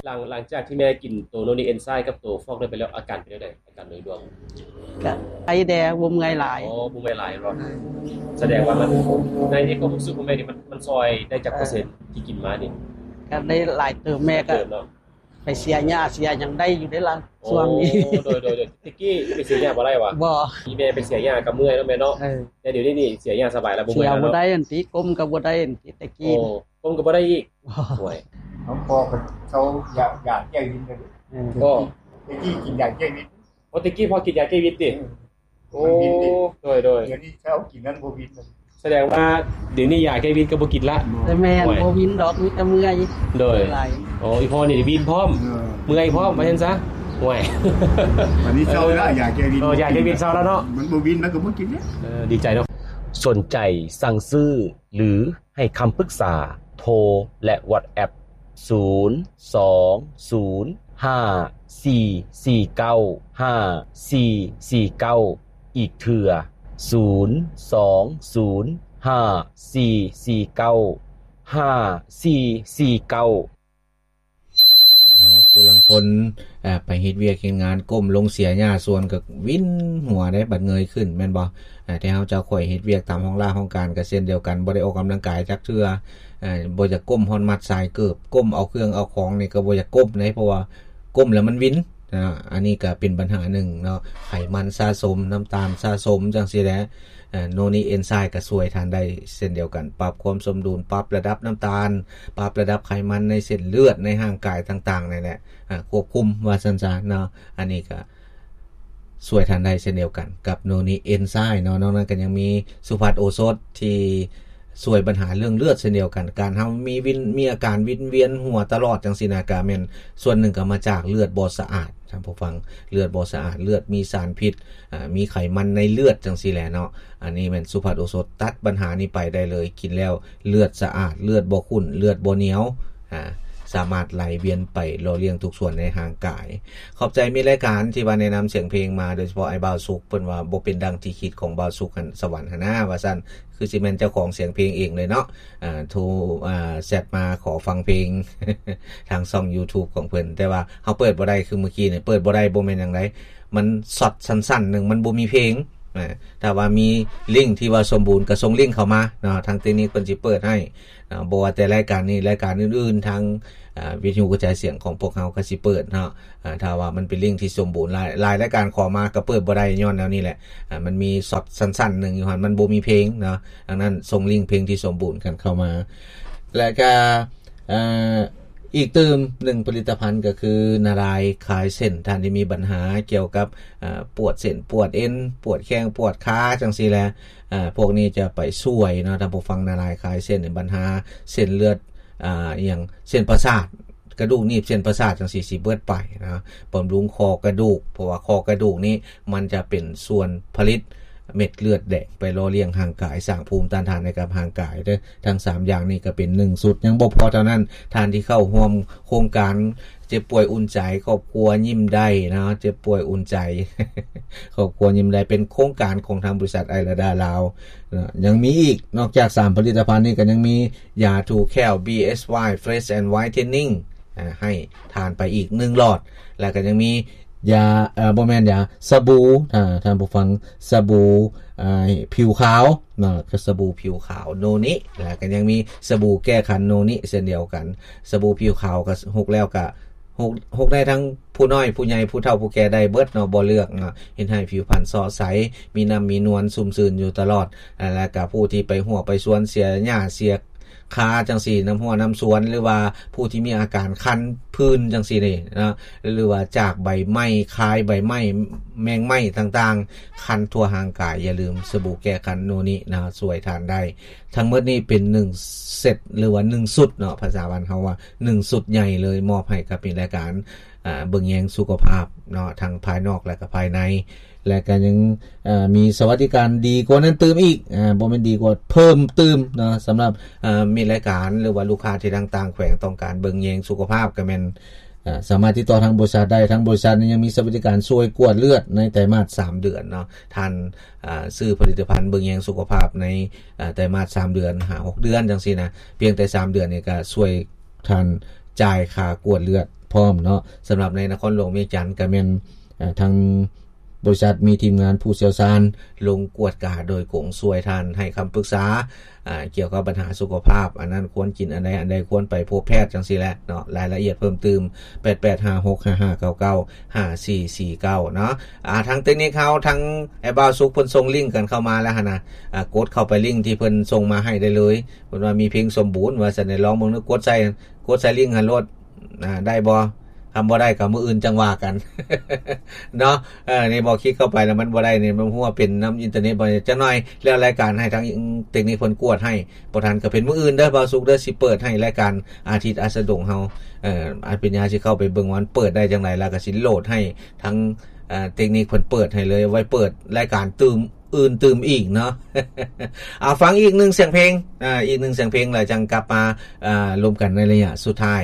ຫຼັງ ຫຼັງຈາກທີ່ແມ່ກິນໂຕໂນນິເອັນໄຊກັບໂຕຟອກໄດ້ໄປແລ້ວ ອາການເປັນຈັ່ງໃດ? ການໂດຍລວມ ກະໄຄແດ່ ບໍ່ເມື່ອຍຫຼາຍ. ອໍ ບໍ່ເມື່ອຍຫຼາຍເນາະ. ສະແດງວ່າມັນ ໃນຄວາມຮູ້ສຶກຂອງແມ່ນີ້ ມັນ ມັນຊ່ອຍໄດ້ຈັກເປີເຊັນທີ່ກິນມານີ້? ກະໄດ້ຫຼາຍເຕີບ. ແມ່ກະໄປເສຍຫຍ້າເສຍຫຍັງໄດ້ຢູ່ເດ້ລະ ຊ່ວງນີ້. ໂອ້ ໂດຍໆໆ. ແຕ່ກີ້ໄປເສຍຫຍ້າບໍ່ໄດ້ຫວາ? ບໍ່. ອີແມ່ໄປເສຍຫຍ້າກະເມື່ອຍເນາະແມ່ເນາະ. ເອີ ແຕ່ດຽວນີ້ນີ້ເສຍຫຍ້າສະບາຍລະ ບໍ່ເມື່ອຍລະເນາະ. ເສຍບໍ່ໄດ້ອັນຕິ ກົ້ມກະບໍ່ໄດ້ອັນຕິ ແຕ່ກີ້. ໂອ້ ກົ້ມກະບໍ່ໄດ້ອີກ. ໂອ້ຍ ນ້ອງພໍ່ກະເຊົາຢາ ຢາແກ້ວິນເລີຍ. ເອີ ແຕ່ກີ້ກິນຢາແກ້ວິນ. ໂອ້ ແຕ່ກີ້ພໍ່ກິນຢາແກ້ວິນຕິ? ເອີ ໂອ້ ໂດຍໆ. ດຽວນີ້ເຊົາກິນນັ້ນບໍ່ວິນ. ສະແດງວ່າດຽວນີ້ຢາແກ້ວິນກະບໍ່ກິນລະ. ແຕ່ແມ່ນ ໂອ້ຍ ບໍ່ວິນດອກ ມີແຕ່ເມື່ອຍ. ໂດຍ. ໂອ້ ອີພໍ່ນີ້ວິນພ້ອມ ເອີ ເມື່ອຍພ້ອມ ວ່າຊັ້ນຊະ. ໂອ້ຍ ອັນນີ້ເຊົາລະ ຢາແກ້ວິນ. ໂອ້ ຢາແກ້ວິນເຊົາລະເນາະ. ມັນບໍ່ວິນ ມັນກະບໍ່ກິນເດ້. ເອີ ດີໃຈເນາະ. ສົນໃຈສັ່ງຊື້ ຫຼື ໃຫ້ຄຳປຶກສາ ໂທ ແລະ ວັອດແອັບ ສູນ ສອງ ສູນ ຫ້າ ສີ່ ສີ່ ເກົ້າ ຫ້າ ສີ່ ສີ່ ເກົ້າ ອີກເທື່ອ ສູນ ສອງ ສູນ ຫ້າ ສີ່ ສີ່ ເກົ້າ ຫ້າ ສີ່ ສີ່ ເກົ້າ. ເອົາ ຜູ້ລາງຄົນ ເອີ ໄປເຮັດວຽກເຮັດງານ ກົ້ມລົງເສຍຫຍ້າສວນກະວິນຫົວເດ້ ບັດເງີຍຂຶ້ນແມ່ນບໍ່? ເອີ ແຕ່ເຮົາເຈົ້າຂ້ອຍເຮັດວຽກຕາມຫ້ອງລາຫ້ອງການກະເຊັ່ນດຽວກັນ ບໍ່ໄດ້ອອກກຳລັງກາຍຈັກເທື່ອ. ເອີ ບໍ່ຢາກກົ້ມຮອດມັດສາຍເກີບ ກົ້ມເອົາເຄື່ອງເອົາຂອງນີ້ກະບໍ່ຢາກກົ້ມເດ້ ເພາະວ່າກົ້ມແລ້ວມັນວິນ. ອາ ອັນນີ້ກະເປັນບັນຫາໜຶ່ງເນາະ ໄຂມັນສະສົມ ນ້ຳຕານສະສົມ ຈັ່ງຊີ້ແຫຼະ. ເອີ ໂນນິເອັນໄຊກະຊ່ວຍທ່ານໄດ້ເຊັ່ນດຽວກັນ ປັບຄວາມສົມດຸນ ປັບລະດັບນ້ຳຕານ ປັບລະດັບໄຂມັນໃນເສັ້ນເລືອດ ໃນຮ່າງກາຍຕ່າງໆ ນີ້ແຫຼະ ອາ ຄວບຄຸມວ່າຊັ້ນຊະເນາະ. ອັນນີ້ກະ ຊ່ວຍທ່ານໄດ້ເຊັ່ນດຽວກັນກັບໂນນິເອັນໄຊເນາະ. ນອກນັ້ນກະຍັງມີສຸພັດໂອສົດທີ່ຊ່ວຍບັນຫາເລື່ອງເລືອດເຊັ່ນດຽວກັນ. ການເຮົາມີວິນ ມີອາການວິນວຽນຫົວຕະຫຼອດຈັ່ງຊີ້ນະ ກະແມ່ນສ່ວນໜຶ່ງກະມາຈາກເລືອດບໍ່ສະອາດ ທ່ານຜູ້ຟັງ. ເລືອດບໍ່ສະອາດ ເລືອດມີສານພິດ ອາ ມີໄຂມັນໃນເລືອດຈັ່ງຊີ້ແຫຼະເນາະ. ອັນນີ້ແມ່ນສຸພັດໂອສົດຕັດບັນຫານີ້ໄປໄດ້ເລີຍ. ກິນແລ້ວເລືອດສະອາດ ເລືອດບໍ່ຂຸ້ນ ເລືອດບໍ່ໜຽວ ອາ ສາມາດໄຫຼວຽນໄປຫຼໍ່ລ້ຽງທຸກສ່ວນໃນຮ່າງກາຍ. ຂອບໃຈມິດລາຍການທີ່ວ່າແນະນຳສຽງເພງມາ ໂດຍສະເພາະອ້າຍບ່າວສຸກ ເພິ່ນວ່າບໍ່ເປັນດັ່ງທີ່ຄິດຂອງບ່າວສຸກຫັ້ນ ສະຫວັນຫັ້ນນາ ວ່າຊັ້ນ. ຄືຊິແມ່ນເຈົ້າຂອງສຽງເພງເອງເລີຍເນາະ. ອາ ໂທ ອາ ແຊັດມາຂໍຟັງເພງ ທາງຊ່ອງຢູທູບຂອງເພິ່ນ ແຕ່ວ່າເຮົາເປີດບໍ່ໄດ້ ຄືມື້ກີ້ນີ້ເປີດບໍ່ໄດ້ ບໍ່ແມ່ນຫຍັງໃດ ມັນຊັອດສັ້ນໆໜຶ່ງ ມັນບໍ່ມີເພງ. ອາ ຖ້າວ່າມີລິ້ງທີ່ວ່າສົມບູນກະສົ່ງລິ້ງເຂົ້າມາເນາະ ທາງເຕັກນິກເພິ່ນຊິເປີດໃຫ້ເນາະ. ບໍ່ວ່າແຕ່ລາຍການນີ້ ລາຍການອື່ນໆ ທາງ ອາ ວິທະຍຸກະຈາຍສຽງຂອງພວກເຮົາກະຊິເປີດເນາະ. ອາ ຖ້າວ່າມັນເປັນລິ້ງທີ່ສົມບູນ ຫຼາຍ ຫຼາຍລາຍການຂໍມາກະເປີດບໍ່ໄດ້ ຍ້ອນແນວນີ້ແຫຼະ. ອາ ມັນມີຊັອດສັ້ນໆໜຶ່ງຢູ່ຫັ້ນ ມັນບໍ່ມີເພງເນາະ. ດັ່ງນັ້ນສົ່ງລິ້ງເພງທີ່ສົມບູນກັນເຂົ້າມາ ແລະກະ ເອີ ອີກຕື່ມໜຶ່ງຜະລິດຕະພັນກະຄືນາລາຍຄາຍເສັ້ນ. ທ່ານທີ່ມີບັນຫາກ່ຽວກັບ ເອີ ປວດເສັ້ນປວດເອັນ ປວດແຂ້ງປວດຂາຈັ່ງຊີ້ແຫຼະ ເອີ ພວກນີ້ຈະໄປຊ່ວຍເນາະ ທ່ານຜູ້ຟັງ. ນາລາຍຄາຍເສັ້ນ ບັນຫາເສັ້ນເລືອດ ອາ ອີ່ຫຍັງ ເສັ້ນປະສາດ ກະດູກໜີບ ເສັ້ນປະສາດຈັ່ງຊີ້ຊິເບິດໄປເນາະ. ບຳລຸງຂໍ້ກະດູກ ເພາະວ່າຂໍ້ກະດູກນີ້ມັນຈະເປັນສ່ວນຜະລິດເມັດເລືອດແດງໄປຫຼໍ່ລ້ຽງຮ່າງກາຍ ສ້າງພູມຕ້ານທານໃຫ້ກັບຮ່າງກາຍເດີ້. ທັງສາມຢ່າງນີ້ກະເປັນໜຶ່ງຊຸດ ຍັງບໍ່ພໍເທົ່ານັ້ນ ທ່ານທີ່ເຂົ້າຮ່ວມໂຄງການເຈັບປ່ວຍອຸ່ນໃຈ ຄອບຄົວຍິ້ມໄດ້ເນາະ ເຈັບປ່ວຍອຸ່ນໃຈ ຄອບຄົວຍິ້ມໄດ້ ເປັນໂຄງການຂອງທາງບໍລິສັດໄອລາດາລາວເນາະ. ຍັງມີອີກ ນອກຈາກສາມຜະລິດຕະພັນນີ້ກະຍັງມີ ຢາຖູແຂ້ວ ບີເອັສວາຍ Fresh and Whitening ອາ ໃຫ້ທານໄປອີກໜຶ່ງຫຼອດ ແລ້ວກະຍັງມີຢາ ເອີ ບໍ່ແມ່ນຢາ ສະບູ ທ່ານ ທ່ານຜູ້ຟັງ ສະບູ ອາ ຜິວຂາວເນາະ ກະສະບູຜິວຂາວໂນນິ ແລ້ວກະຍັງມີສະບູແກ້ຄັນໂນນິເຊັ່ນດຽວກັນ. ສະບູຜິວຂາວກະ ຫົກແລ້ວກະ ຫົກ ຫົກໄດ້ທັງຜູ້ນ້ອຍຜູ້ໃຫຍ່ ຜູ້ເຖົ້າຜູ້ແກ່ໄດ້ເບິດເນາະ ບໍ່ເລືອກເນາະ. ເຮັດໃຫ້ຜິວພັນຊອດໃສ ມີນ້ຳມີນວນ ຊຸ່ມຊື່ນຢູ່ຕະຫຼອດ. ແລ້ວກະຜູ້ທີ່ໄປຮົ້ວໄປສວນ ເສຍຫຍ້າເສຍຄາຈັ່ງຊີ້ ນ້ຳຮົ້ວນ້ຳສວນ ຫຼືວ່າຜູ້ທີ່ມີອາການຄັນ ຜື່ນຈັ່ງຊີ້ນີ້ເນາະ ຫຼືວ່າຈາກໃບໄມ້ ຄາຍໃບໄມ້ ແມງໄມ້ຕ່າງໆ ຄັນທົ່ວຮ່າງກາຍ ຢ່າລືມສະບູແກ້ຄັນໂນນິນະ ຊ່ວຍທ່ານໄດ້. ທັງໝົດນີ້ເປັນໜຶ່ງເຊັດ ຫຼືວ່າໜຶ່ງຊຸດເນາະ ພາສາບ້ານເຮົາວ່າໜຶ່ງຊຸດໃຫຍ່ເລີຍ ມອບໃຫ້ກັບມີລາຍການ ອາ ເບິ່ງແຍງສຸຂະພາບເນາະ ທັງພາຍນອກ ແລະກະພາຍໃນ ແລະກະຍັງ ອາ ມີສະຫວັດດີການດີກວ່ານັ້ນຕື່ມອີກ ອາ ບໍ່ແມ່ນດີກວ່າ ເພີ່ມຕື່ມເນາະ. ສຳລັບ ອາ ມີລາຍການ ຫຼືວ່າລູກຄ້າທີ່ທາງຕ່າງແຂວງຕ້ອງການເບິ່ງແຍງສຸຂະພາບ ກະແມ່ນ ອາ ສາມາດຕິດຕໍ່ທາງບໍລິສັດໄດ້. ທາງບໍລິສັດນີ້ຍັງມີສະຫວັດດີການຊ່ວຍກວດເລືອດໃນໄຕມາດສາມເດືອນເນາະ. ທ່ານ ອາ ຊື້ຜະລິດຕະພັນເບິ່ງແຍງສຸຂະພາບໃນ ອາ ໄຕມາດສາມເດືອນ ຫາ ຫົກເດືອນຈັ່ງຊີ້ນະ ພຽງແຕ່ສາມເດືອນນີ້ກະຊ່ວຍທ່ານຈ່າຍຄ່າກວດເລືອດ ພ້ອມເນາະ. ສຳລັບໃນນະຄອນຫຼວງວຽງຈັນກໍແມ່ນ ເອີ ທາງບໍລິສັດມີທີມງານຜູ້ຊ່ຽວຊານລົງກວດກາໂດຍກົງ ຊ່ວຍທ່ານໃຫ້ຄຳປຶກສາ ອາ ກ່ຽວກັບບັນຫາສຸຂະພາບ ອັນນັ້ນຄວນກິນອັນໃດ ອັນໃດຄວນໄປພົບແພດ ຈັ່ງຊີ້ແຫຼະເນາະ. ລາຍລະອຽດເພີ່ມຕື່ມ ແປດແປດຫ້າຫົກຫ້າຫ້າເກົ້າເກົ້າ ຫ້າສີ່ສີ່ເກົ້າເນາະ. ອາ ທາງເຕັກນິກເຮົາ ທາງອ້າຍບ່າວສຸກເພິ່ນສົ່ງລິ້ງກັນເຂົ້າມາແລ້ວຫັ້ນນະ. ອາ ກົດເຂົ້າໄປລິ້ງທີ່ເພິ່ນສົ່ງມາໃຫ້ໄດ້ເລີຍ. ເພິ່ນວ່າມີເພງສົມບູນ ວ່າຊັ້ນ ໄດ້ລອງເບິ່ງເນາະ. ກົດໃສ່ ກົດໃສ່ລິ້ງຫັ້ນໂລດ. ອ່າ ໄດ້ບໍ່? ຄັນບໍ່ໄດ້ກໍມື້ອື່ນຈັ່ງວ່າກັນ ເນາະ. ເອີ ນີ້ບໍ່ຄລິກເຂົ້າໄປແລ້ວມັນບໍ່ໄດ້ນີ້ ມັນຮູ້ວ່າເປັນນຳອິນເຕີເນັດບໍ່. ຈັກໜ່ອຍແລ້ວລາຍການໃຫ້ທາງເຕັກນິກເພິ່ນກວດໃຫ້. ບໍ່ທັນກໍເປັນມື້ອື່ນເດີບ່າວສຸກເດີ ຊິເປີດໃຫ້ລາຍການອາທິດອັດສະດົງເຮົາ. ເອີ ອາດປັນຍາຊິເຂົ້າໄປເບິ່ງວ່າມັນເປີດໄດ້ຈັ່ງໃດ ແລ້ວກໍຊິໂຫຼດໃຫ້ທາງ ເອີ ເຕັກນິກເພິ່ນເປີດໃຫ້ເລີຍ ໄວ້ເປີດລາຍການຕື່ມ ອື່ນຕື່ມອີກເນາະ. ເອົາ ຟັງອີກໜຶ່ງສຽງເພງ ອາ ອີກໜຶ່ງສຽງເພງ ແລ້ວຈັ່ງກັບມາ ອາ ລົມກັນໃນໄລຍະສຸດທ້າຍ.